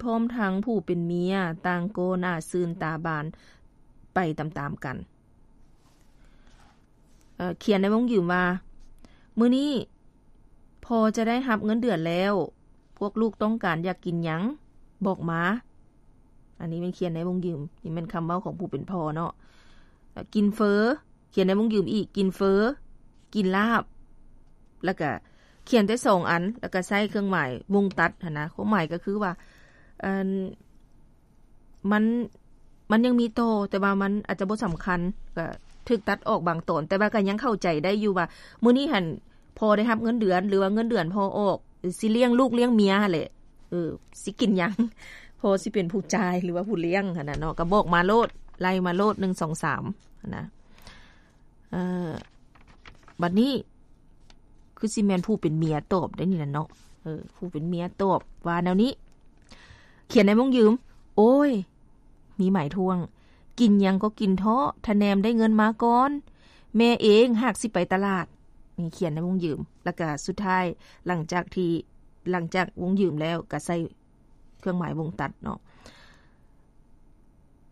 ພ້ອມທັງຜູ້ເປັນເມຍຕ່າງກໍໜ້າຊື່ນຕາບານໄປຕາມໆກັນ. ເອີ ຂຽນໃນວົງຢືມວ່າ ມື້ນີ້ພໍ່ຈະໄດ້ຮັບເງິນເດືອນແລ້ວ ພວກລູກຕ້ອງການຢາກກິນຫຍັງ ບອກມາ. ອັນນີ້ແມ່ນຂຽນໃນວົງຢືມ ນີ້ແມ່ນຄຳເວົ້າຂອງຜູ້ເປັນພໍ່ເນາະ. ກິນເຝີ ຂຽນໃນວົງຢືມອີກ ກິນເຝີ ກິນລາບ ແລ້ວກະຂຽນແຕ່ສອງອັນ ແລ້ວກະໃສ່ເຄື່ອງໝາຍວົງຕັດຫັ້ນນະ. ຄວາມໝາຍກໍຄືວ່າ ອັນ ມັນ ມັນຍັງມີຕໍ່ ແຕ່ວ່າມັນອາດຈະບໍ່ສຳຄັນ ກໍຖືກຕັດອອກບາງຕອນ ແຕ່ວ່າກໍຍັງເຂົ້າໃຈໄດ້ຢູ່ວ່າ ມື້ນີ້ຫັ້ນພໍ່ໄດ້ຮັບເງິນເດືອນ ຫຼືວ່າເງິນເດືອນພໍ່ອອກ ຊິລ້ຽງລູກລ້ຽງເມຍຫັ້ນແຫຼະ. ເອີ ຊິກິນຫຍັງ ພໍ່ຊິເປັນຜູ້ຈ່າຍ ຫຼືວ່າຜູ້ລ້ຽງຫັ້ນນະເນາະ. ກໍບອກມາໂລດ ໄລ່ມາໂລດ ໜຶ່ງ ສອງ ສາມ ຫັ້ນນະ. ເອີ ບັດນີ້ຄືຊິແມ່ນຜູ້ເປັນເມຍຕອບໄດ໋ນີ້ນະເນາະ. ເອີ ຜູ້ເປັນເມຍຕອບວ່າແນວນີ້ ຂຽນໃນວົງຢືມ ໂອ້ຍ ມີໝາຍທ້ວງ ກິນຫຍັງກໍກິນເທາະ ທະແນມໄດ້ເງິນມາກ່ອນ ແມ່ເອງຫາກຊິໄປຕະຫຼາດ. ນີ້ຂຽນໃນວົງຢືມ ແລ້ວກະສຸດທ້າຍ ຫຼັງຈາກທີ່ ຫຼັງຈາກວົງຢືມແລ້ວ ກະໃສ່ເຄື່ອງໝາຍວົງຕັດເນາະ.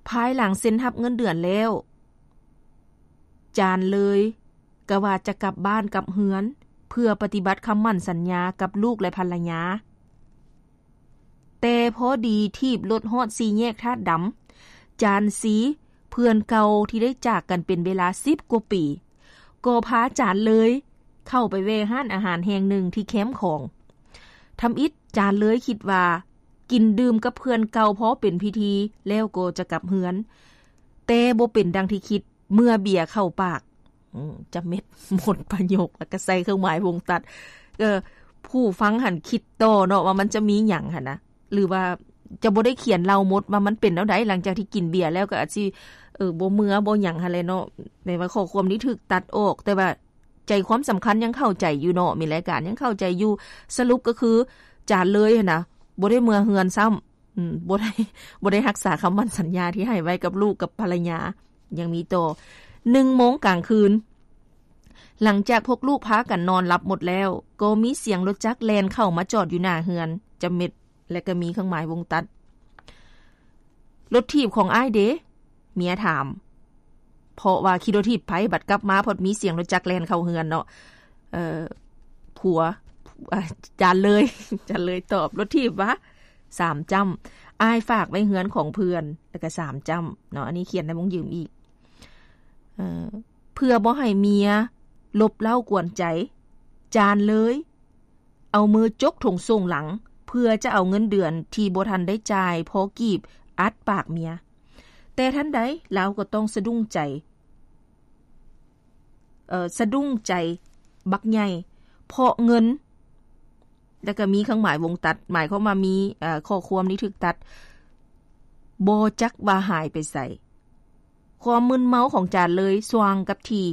ພາຍຫຼັງເຊັນຮັບເງິນເດືອນແລ້ວ ຈານເລີຍກະວ່າຈະກັບບ້ານກັບເຮືອນ ເພື່ອປະຕິບັດຄຳໝັ້ນສັນຍາກັບລູກ ແລະ ພັນລະຍາ. ແຕ່ພໍດີຖີບລົດຮອດສີ່ແຍກທາດດຳ ຈານຊີ ເພື່ອນເກົ່າທີ່ໄດ້ຈາກກັນເປັນເວລາສິບກວ່າປີ ກໍພາຈານເລີຍເຂົ້າໄປແວ່ຮ້ານອາຫານແຫ່ງໜຶ່ງທີ່ແຄມຂອງ. ທຳອິດ ຈານເລີຍຄິດວ່າກິນດື່ມກັບເພື່ອນເກົ່າພໍເປັນພິທີ ແລ້ວກໍຈະກັບເຮືອນ, ແຕ່ບໍ່ເປັນດັ່ງທີ່ຄິດ ເມື່ອເບຍເຂົ້າປາກ. ອືມ ຈະເມັດໝົດປະໂຫຍກ ແລ້ວກໍໃສ່ເຄື່ອງໝາຍວົງຕັດ. ເອີ ຜູ້ຟັງຫັ້ນຄິດຕໍ່ເນາະວ່າມັນຈະມີຫຍັງຫັ້ນນະ ຫຼືວ່າຈະບໍ່ໄດ້ຂຽນເລົ່າໝົດວ່າມັນເປັນແນວໃດ ຫຼັງຈາກທີ່ກິນເບຍແລ້ວ ກໍອາດຊິ ເອີ ບໍ່ເມືອບໍ່ຫຍັງຫັ້ນແຫຼະເນາະ. ແມ່ນວ່າຂໍ້ຄວາມນີ້ຖືກຕັດອອກ ແຕ່ວ່າ ໃຈຄວາມສຳຄັນຍັງເຂົ້າໃຈຢູ່ເນາະ ມີລາຍການຍັງເຂົ້າໃຈຢູ່. ສະຫຼຸບກໍຄື ຈານເລີຍຫັ້ນນະ ບໍ່ໄດ້ເມືອເຮືອນຊ້ຳ ອືມ ບໍ່ໄດ້ ບໍ່ໄດ້ຮັກສາຄຳໝັ້ນສັນຍາທີ່ໃຫ້ໄວ້ກັບລູກກັບພັນລະຍາ. ຍັງມີຕໍ່ ໜຶ່ງໂມງກາງຄືນ ຫຼັງຈາກພວກລູກພາກັນນອນຫຼັບໝົດແລ້ວ ກໍມີສຽງລົດຈັກແລ່ນເຂົ້າມາຈອດຢູ່ໜ້າເຮືອນ ຈະເມັດ ແລະ ກໍມີເຄື່ອງໝາຍວົງຕັດ. ລົດຖີບຂອງອ້າຍເດ? ເມຍຖາມ. ເພາະວ່າຂີ່ລົດຖີບໄປ ບັດກັບມາພັດມີສຽງລົດຈັກແລ່ນເຂົ້າເຮືອນເນາະ. ເອີ ຜົວ ອາ ຈານເລີຍ ຈານເລີຍຕອບ. ລົດຖີບຫວາ? ສາມຈ້ຳ. ອ້າຍຝາກໄວ້ເຮືອນຂອງເພື່ອນ ແລ້ວກໍສາມຈ້ຳເນາະ. ອັນນີ້ຂຽນໃນວົງຢືມອີກ. ເອີ ເພື່ອບໍ່ໃຫ້ເມຍລົບເລົ້າກວນໃຈ ຈານເລີຍ ເອົາມືຈົກຖົງໂສ້ງຫຼັງ ເພື່ອຈະເອົາເງິນເດືອນທີ່ບໍ່ທັນໄດ້ຈ່າຍພໍກີບອັດປາກເມຍ. ແຕ່ທັນໃດລາວກໍຕ້ອງສະດຸ້ງໃຈ ເອີ ສະດຸ້ງໃຈບັກໃຫຍ່ ເພາະເງິນ ແລ້ວກໍມີເຄື່ອງໝາຍວົງຕັດ ໝາຍຄວາມວ່າມີ ເອີ ຂໍ້ຄວາມນີ້ຖືກຕັດ ບໍ່ຈັກວ່າຫາຍໄປໃສ. ຄວາມມຶນເມົາຂອງຈານເລີຍສ່ວາງກັບທີ່.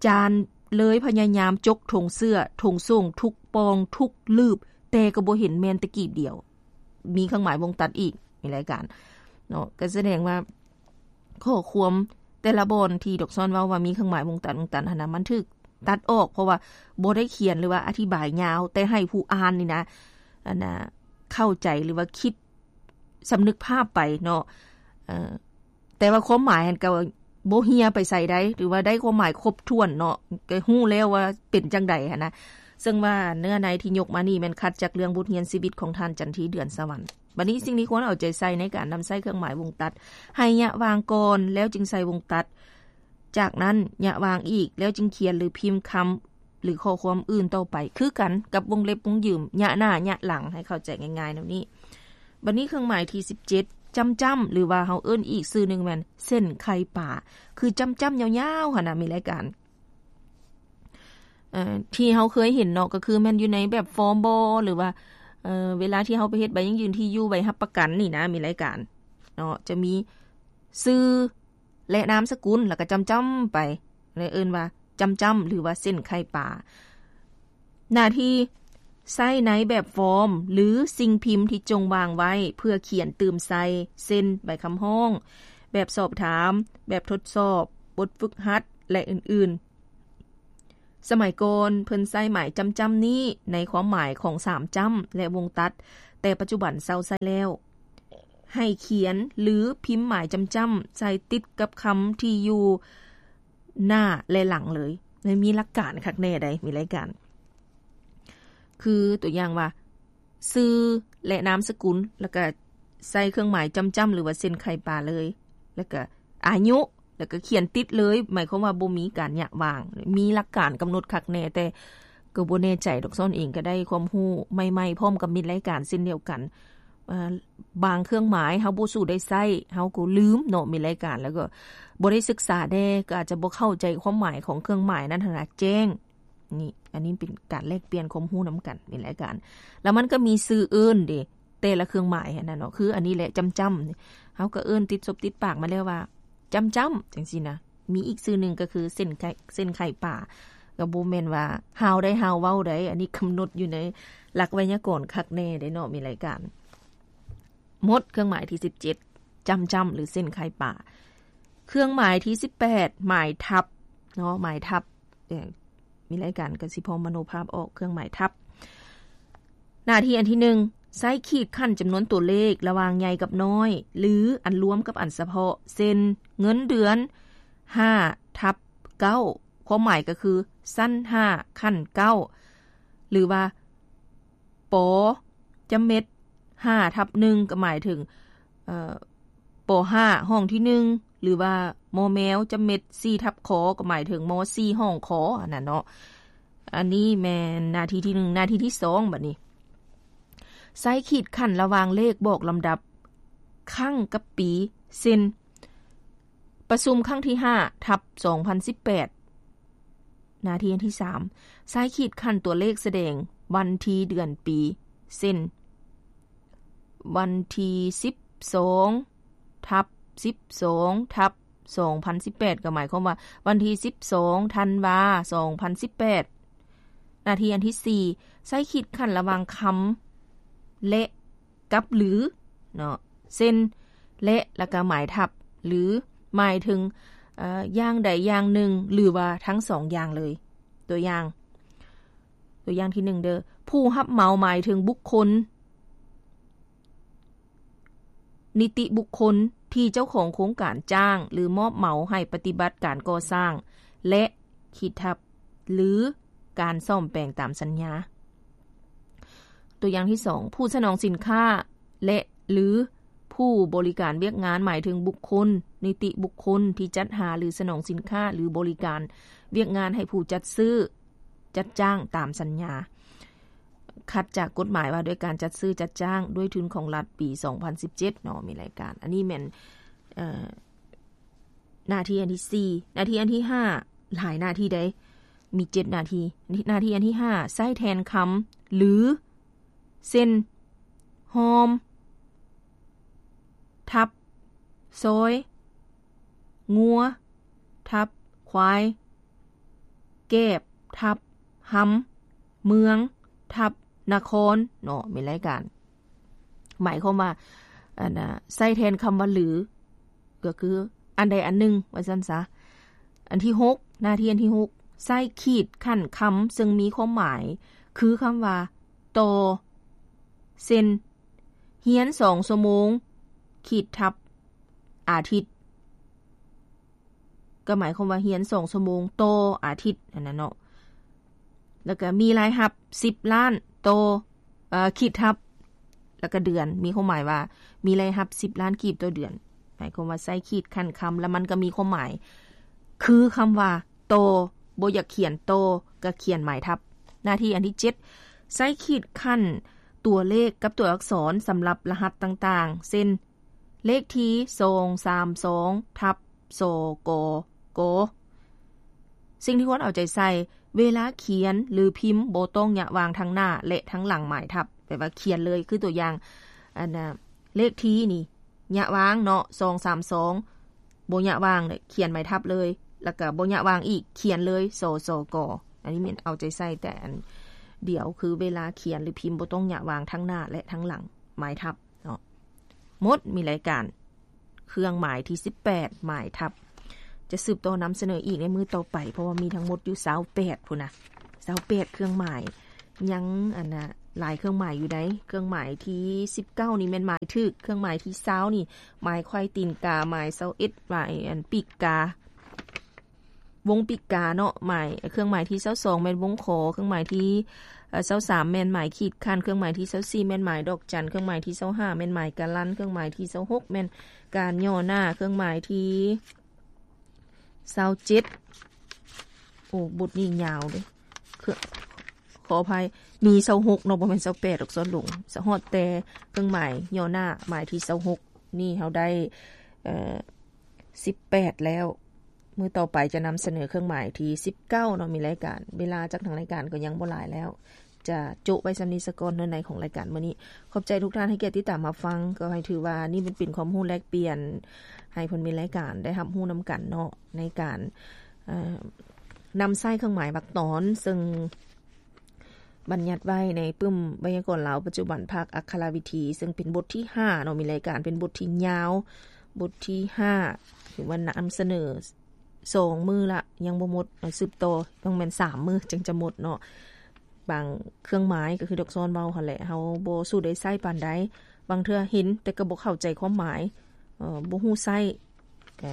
ຈານເລີຍພະຍາຍາມຈົກຖົງເສື້ອ, ຖົງໂສ້ງ, ທຸກປ່ອງ, ທຸກລືບ, ແຕ່ກໍບໍ່ເຫັນແມ່ນແຕ່ກີບດຽວ. ມີເຄື່ອງໝາຍວົງຕັດອີກໃນລາຍການເນາະ. ກໍສະແດງວ່າຂໍ້ຄວາມແຕ່ລະບ່ອນທີ່ດອກຊອນເວົ້າວ່າມີເຄື່ອງໝາຍວົງຕັດ, ວົງຕັດຫັ້ນນະ, ມັນຖືກຕັດອອກ, ເພາະວ່າບໍ່ໄດ້ຂຽນ ຫຼືວ່າອະທິບາຍຍາວ, ແຕ່ໃຫ້ຜູ້ອ່ານນີ້ນະ, ອັນນະ, ເຂົ້າໃຈ ຫຼືວ່າຄິດ ສຳນຶກພາບໄປເນາະ. ເອີ ແຕ່ວ່າຄວາມໝາຍຫັ້ນກໍບໍ່ເຮ່ຍໄປໃສໃດ ຫຼືວ່າໄດ້ຄວາມໝາຍຄົບຖ້ວນເນາະ, ກໍຮູ້ແລ້ວວ່າເປັນຈັ່ງໃດຫັ້ນນະ. ເຊິ່ງວ່າເນື້ອໃນທີ່ຍົກມານີ້ແມ່ນຄັດຈາກເລື່ອງບົດຮຽນຊີວິດຂອງທ່ານຈັນທີ ເດືອນສະຫວັນ. ບັດນີ້ສິ່ງທີ່ຄວນເອົາໃຈໃສ່ໃນການນຳໃຊ້ເຄື່ອງໝາຍວົງຕັດ, ໃຫ້ຍະວາງກ່ອນ ແລ້ວຈຶ່ງໃສ່ວົງຕັດ. ຈາກນັ້ນຍະວາງອີກ ແລ້ວຈຶ່ງຂຽນ ຫຼື ພິມຄຳ ຫຼື ຂໍ້ຄວາມອື່ນຕໍ່ໄປ ຄືກັນກັບວົງເລັບວົງຢືມ ຍະໜ້າຍະຫຼັງ ໃຫ້ເຂົ້າໃຈງ່າຍໆແນວນີ້. ບັດນີ້ເຄື່ອງໝາຍທີສິບເຈັດ ຈ້ຳໆ ຫຼືວ່າເຮົາເອີ້ນອີກຊື່ໜຶ່ງແມ່ນເສັ້ນໄຂ່ປາ ຄືຈ້ຳໆຍາວໆຫັ້ນນະ ມີລາຍການ ເອີ ທີ່ເຮົາເຄີຍເຫັນເນາະ ກໍຄືແມ່ນຢູ່ໃນແບບຟອມບໍ ຫຼືວ່າ ເອີ ເວລາທີ່ເຮົາໄປເຮັດໃບຢັ້ງຢືນທີ່ຢູ່ ໃບຮັບປະກັນນີ້ນະ ມີລາຍການເນາະ ຈະມີຊື່ ແລະ ນາມສະກຸນ ແລ້ວກໍຈ້ຳໆໄປ ເອີ້ນວ່າຈ້ຳໆ ຫຼືວ່າເສັ້ນໄຂ່ປາ. ໜ້າທີ່ໃຊ້ໃນແບບຟອມ ຫຼື ສິ່ງພິມທີ່ຈົ່ງວາງໄວ້ເພື່ອຂຽນຕື່ມໃສ່ ເຊັ່ນ ໃບຄຳຮ້ອງ, ແບບສອບຖາມ, ແບບທົດສອບ, ບົດຝຶກຫັດ ແລະ ອື່ນໆ. ສະໄໝກ່ອນເພິ່ນໃຊ້ໝາຍຈ້ຳໆນີ້ໃນຄວາມໝາຍຂອງສາມຈ້ຳ ແລະ ວົງຕັດ, ແຕ່ປັດຈຸບັນເຊົາໃຊ້ແລ້ວ. ໃຫ້ຂຽນ ຫຼື ພິມໝາຍຈ້ຳໆໃສ່ຕິດກັບຄຳທີ່ຢູ່ໜ້າ ແລະ ຫຼັງເລີຍ. ມັນມີຫຼັກການຄັກແນ່ໃດ໋ ມີລາຍການ. ຄືຕົວຢ່າງວ່າ ຊື່ ແລະ ນາມສະກຸນ ແລ້ວກະໃສ່ເຄື່ອງໝາຍຈ້ຳໆ ຫຼືວ່າເສັ້ນໄຂປາເລີຍ ແລ້ວກະອາຍຸ ແລ້ວກະຂຽນຕິດເລີຍ ໝາຍຄວາມວ່າບໍ່ມີການຍະຫວ່າງ. ມີຫຼັກການກຳນົດຄັກແນ່ ແຕ່ກໍບໍ່ແນ່ໃຈດອກ, ຊ້ອນເອງກໍໄດ້ຄວາມຮູ້ໃໝ່ໆ ພ້ອມກັບມິດລາຍການເຊັ່ນດຽວກັນ. ເອີ ບາງເຄື່ອງໝາຍເຮົາບໍ່ສູ່ໄດ້ໃຊ້ ເຮົາກໍລືມເນາະ ມິດລາຍການ ແລ້ວກໍບໍ່ໄດ້ສຶກສາແດ່ ກໍອາດຈະບໍ່ເຂົ້າໃຈຄວາມໝາຍຂອງເຄື່ອງໝາຍນັ້ນຫັ້ນນະແຈ້ງ. ນີ້ ອັນນີ້ເປັນການແລກປ່ຽນຄວາມຮູ້ນຳກັນ ມີລາຍການ. ແລ້ວມັນກໍມີຊື່ເອີ້ນເດ້ ແຕ່ລະເຄື່ອງໝາຍຫັ້ນນະເນາະ, ຄືອັນນີ້ແຫຼະ ຈ້ຳໆ ເຮົາກໍເອີ້ນຕິດສົບຕິດປາກມາແລ້ວວ່າ ຈ້ຳໆ ຈັ່ງຊີ້ນະ. ມີອີກຊື່ໜຶ່ງກໍຄືເສັ້ນໄຂ ເສັ້ນໄຂປາ, ກໍບໍ່ແມ່ນວ່າຮາວໃດຮາວເວົ້າໃດ, ອັນນີ້ກຳນົດຢູ່ໃນຫຼັກໄວຍາກອນຄັກແນ່ເດ້ເນາະ ມີລາຍການ. ໝົດເຄື່ອງໝາຍທີສິບເຈັດ ຈ້ຳໆ ຫຼື ເສັ້ນໄຂປາ. ເຄື່ອງໝາຍທີສິບແປດ ໝາຍທັບເນາະ ໝາຍທັບ. ເອີ ມີລາຍການກໍຊິພໍມະໂນພາບອອກ ເຄື່ອງໝາຍທັບ. ໜ້າທີ່ອັນທີໜຶ່ງ ໃຊ້ຂີດຂັ້ນຈຳນວນຕົວເລກລະຫວ່າງໃຫຍ່ກັບນ້ອຍ ຫຼື ອັນລວມກັບອັນສະເພາະ ເຊັ່ນ ເງິນເດືອນຫ້າທັບເກົ້າ ຄວາມໝາຍກໍຄື ຊັ້ນຫ້າ ຂັ້ນເກົ້າ ຫຼືວ່າ ປໍ ຈຳເມັດຫ້າທັບໜຶ່ງ ກໍໝາຍເຖິງ ເອີ ປໍຫ້າຫ້ອງທີໜຶ່ງ ຫຼືວ່າ ມໍແມວ ຈຳເມັດສີ່ທັບ ຄ ກໍໝາຍເຖິງ ມໍສີ່ຫ້ອງ ຄ ອັນນັ້ນເນາະ. ອັນນີ້ແມ່ນໜ້າທີ່ທີໜຶ່ງ. ໜ້າທີ່ທີສອງ ບັດນີ້ ໃຊ້ຂີດຂັ້ນລະຫວ່າງເລກບອກລຳດັບຄັ້ງກັບປີ ເຊັ່ນ ປະຊຸມຄັ້ງທີຫ້າທັບສອງພັນສິບແປດ. ໜ້າທີ່ອັນທີສາມ ໃຊ້ຂີດຂັ້ນຕົວເລກສະແດງວັນທີເດືອນປີ ເຊັ່ນ ວັນທີສິບສອງທັບສິບສອງທັບສອງພັນສິບແປດ ກໍໝາຍຄວາມວ່າ ວັນທີສິບສອງທັນວາສອງພັນສິບແປດ. ໜ້າທີ່ອັນທີສີ່ ໃຊ້ຂີດຂັ້ນລະຫວ່າງຄຳ ແລະ ກັບ ຫຼື ເນາະ ເຊັ່ນ ແລະ ແລ້ວກໍໝາຍທັບ ຫຼື ໝາຍເຖິງ ເອີ ຢ່າງໃດຢ່າງໜຶ່ງ ຫຼືວ່າທັງສອງຢ່າງເລີຍ. ຕົວຢ່າງ ຕົວຢ່າງທີໜຶ່ງເດີ້ ຜູ້ຮັບເໝົາໝາຍເຖິງບຸກຄົນ ນິຕິບຸກຄົນ ທີ່ເຈົ້າຂອງໂຄງການຈ້າງ ຫຼື ມອບເໝົາໃຫ້ປະຕິບັດການກໍ່ສ້າງ ແລະ ຂີດທັບ ຫຼື ການສ້ອມແປງຕາມສັນຍາ. ຕົວຢ່າງທີສອງ ຜູ້ສະໜອງສິນຄ້າ ແລະ ຫຼື ຜູ້ບໍລິການວຽກງານ ໝາຍເຖິງບຸກຄົນ ນິຕິບຸກຄົນ ທີ່ຈັດຫາ ຫຼື ສະໜອງສິນຄ້າ ຫຼື ບໍລິການວຽກງານໃຫ້ຜູ້ຈັດຊື້ ຈັດຈ້າງຕາມສັນຍາ ຂັດຈາກກົດໝາຍວ່າດ້ວຍການຈັດຊື້ຈັດຈ້າງດ້ວຍທຶນຂອງລັດ ປີສອງພັນສິບເຈັດເນາະ ມີລາຍການ. ອັນນີ້ແມ່ນ ເອີ ໜ້າທີ່ອັນທີສີ່. ໜ້າທີ່ອັນທີຫ້າ ຫຼາຍໜ້າທີ່ໃດ໋ ມີເຈັດໜ້າທີ່. ໜ້າທີ່ອັນທີຫ້າ ໃຊ້ແທນຄຳ ຫຼື ເຊັ່ນ ຮ່ອມ ທັບ ຊອຍ ງົວ ທັບ ຄວາຍ ແກບ ທັບ ຮຳ ເມືອງ ທັບ ນະຄອນ ເນາະ ມີລາຍການ. ໝາຍຄວາມວ່າ ອັນນະ ໃຊ້ແທນຄຳວ່າ ຫຼື ກໍຄືອັນໃດອັນໜຶ່ງ ວ່າຊັ້ນຊະ. ອັນທີຫົກ ໜ້າທີ່ອັນທີຫົກ ໃຊ້ຂີດຂັ້ນຄຳ ເຊິ່ງມີຄວາມໝາຍຄືຄຳວ່າ ຕໍ່ ເຊັ່ນ ຮຽນສອງຊົ່ວໂມງ ຂີດທັບ ອາທິດ ກໍໝາຍຄວາມວ່າຮຽນສອງຊົ່ວໂມງຕໍ່ອາທິດຫັ້ນນະເນາະ. ແລ້ວກໍມີລາຍຮັບສິບລ້ານຕໍ່ ເອີ ຂີດທັບ ແລ້ວກໍເດືອນ ມີຄວາມໝາຍວ່າມີລາຍຮັບສິບລ້ານກີບຕໍ່ເດືອນ. ໝາຍຄວາມວ່າໃຊ້ຂີດຂັ້ນຄຳ ແລ້ວມັນກໍມີຄວາມໝາຍຄືຄຳວ່າ ຕໍ່ ບໍ່ຢາກຂຽນຕໍ່ ກໍຂຽນໝາຍທັບ. ໜ້າທີ່ອັນທີເຈັດ ໃຊ້ຂີດຂັ້ນຕົວເລກກັບຕົວອັກສອນສຳລັບລະຫັດຕ່າງໆ ເຊັ່ນ ເລກທີສອງສາມສອງທັບ ສກກ. ສິ່ງທີ່ຄວນເອົາໃຈໃສ່ ເວລາຂຽນ ຫຼື ພິມ ບໍ່ຕ້ອງຍະຫວ່າງທັງໜ້າ ແລະ ທັງຫຼັງໝາຍທັບ ແປວ່າຂຽນເລີຍ. ຄືຕົວຢ່າງ ອັນນະ ເລກທີນີ້ ຍະຫວ່າງເນາະ ສອງສາມສອງ ບໍ່ຍະຫວ່າງ ຂຽນໝາຍທັບເລີຍ ແລ້ວກໍບໍ່ຍະຫວ່າງອີກ ຂຽນເລີຍ ສສກ. ອັນນີ້ແມ່ນເອົາໃຈໃສ່ແຕ່ອັນດຽວ ຄືເວລາຂຽນ ຫຼື ພິມ ບໍ່ຕ້ອງຍະຫວ່າງທັງໜ້າ ແລະ ທັງຫຼັງໝາຍທັບເນາະ. ໝົດ ມີລາຍການ ເຄື່ອງໝາຍທີສິບແປດ ໝາຍທັບ. ຈະສືບຕໍ່ນຳສະເໜີອີກໃນມື້ຕໍ່ໄປ ເພາະວ່າມີທັງໝົດຢູ່ຊາວແປດພຸ້ນນະ ຊາວແປດເຄື່ອງໝາຍ. ຍັງ ອັນນະ ຫຼາຍເຄື່ອງໝາຍຢູ່ໃດ໋. ເຄື່ອງໝາຍທີສິບເກົ້ານີ້ແມ່ນໝາຍຖືກ, ເຄື່ອງໝາຍທີຊາວນີ້ໝາຍໄຂວ້ຕີນກາ, ໝາຍຊາວເອັດໝາຍອັນປີກກາ ວົງປີກກາເນາະ, ໝາຍ ເຄື່ອງໝາຍທີຊາວສອງແມ່ນວົງຂໍ, ເຄື່ອງໝາຍທີ ເອີ ຊາວສາມແມ່ນໝາຍຂີດຂັ້ນ, ເຄື່ອງໝາຍທີຊາວສີ່ແມ່ນໝາຍດອກຈັນ, ເຄື່ອງໝາຍທີຊາວຫ້າແມ່ນໝາຍກາລັນ, ເຄື່ອງໝາຍທີຊາວຫົກແມ່ນການຫຍໍ້ໜ້າ, ເຄື່ອງໝາຍທີ ຊາວເຈັດ ໂອ້ ບົດນີ້ຍາວເດ້ ເຄື່ອງ ຂໍອະໄພ ມີຊາວຫົກເນາະ ບໍ່ແມ່ນຊາວແປດດອກ ສອນຫຼົງ. ສະ ຮອດແຕ່ເຄື່ອງໝາຍຫຍໍ້ໜ້າ ໝາຍທີຊາວຫົກ ນີ້ເຮົາໄດ້ ເອີ ສິບແປດແລ້ວ. ມື້ຕໍ່ໄປຈະນຳສະເໜີເຄື່ອງໝາຍທີສິບເກົ້າເນາະ ມີລາຍການ ເວລາຈາກທາງລາຍການກໍຍັງບໍ່ຫຼາຍແລ້ວ. ຈະໂຈະໄວ້ສ່ຳນີ້ສາກ່ອນເນາະ ໃນຂອງລາຍການມື້ນີ້. ຂອບໃຈທຸກທ່ານໃຫ້ກຽດຕິດຕາມຮັບຟັງ, ກໍໃຫ້ຖືວ່ານີ້ເປັນ ເປັນຄວາມຮູ້ແລກປ່ຽນ ໃຫ້ເພິ່ນມີລາຍການໄດ້ຮັບຮູ້ນຳກັນເນາະ ໃນການ ເອີ ນຳໃຊ້ເຄື່ອງໝາຍວາກຕອນ ເຊິ່ງບັນຍັດໄວ້ໃນປຶ້ມໄວຍາກອນລາວປັດຈຸບັນ ພາກອັກຂະລະວິທີ ເຊິ່ງເປັນບົດທີຫ້າເນາະ ມີລາຍການ ເປັນບົດທີ່ຍາວ ບົດທີຫ້າ ຖືວ່ານຳສະເໜີ ສອງມື້ລະ ຍັງບໍ່ໝົດ ເອົາ ສືບຕໍ່ ຕ້ອງແມ່ນສາມມື້ຈຶ່ງຈະໝົດເນາະ. ບາງເຄື່ອງໝາຍກໍຄືດອກສອນເວົ້າຫັ້ນແຫຼະ ເຮົາບໍ່ສູ່ໄດ້ໃຊ້ປານໃດ, ບາງເທື່ອເຫັນແຕ່ກໍບໍ່ເຂົ້າໃຈຄວາມໝາຍ ເອີ ບໍ່ຮູ້ໃຊ້. ກໍ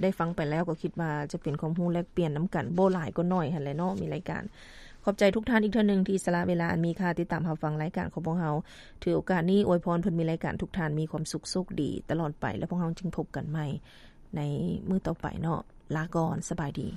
ໄດ້ຟັງໄປແລ້ວກໍຄິດວ່າຈະເປັນຄວາມຮູ້ແລກປ່ຽນນຳກັນ ບໍ່ຫຼາຍກໍໜ້ອຍຫັ້ນແຫຼະເນາະ ມີລາຍການ. ຂອບໃຈທຸກທ່ານອີກເທື່ອໜຶ່ງທີ່ສະຫຼະເວລາອັນມີຄ່າຕິດຕາມຮັບຟັງລາຍການຂອງພວກເຮົາ. ຖືໂອກາດນີ້ອວຍພອນເພິ່ນມີລາຍການ ທຸກທ່ານມີຄວາມສຸກໂຊກດີຕະຫຼອດໄປ ແລະ ພວກເຮົາຈຶ່ງພົບກັນໃໝ່ ໃນມື້ຕໍ່ໄປເນາະ. ລາກ່ອນ, ສະບາຍດີ.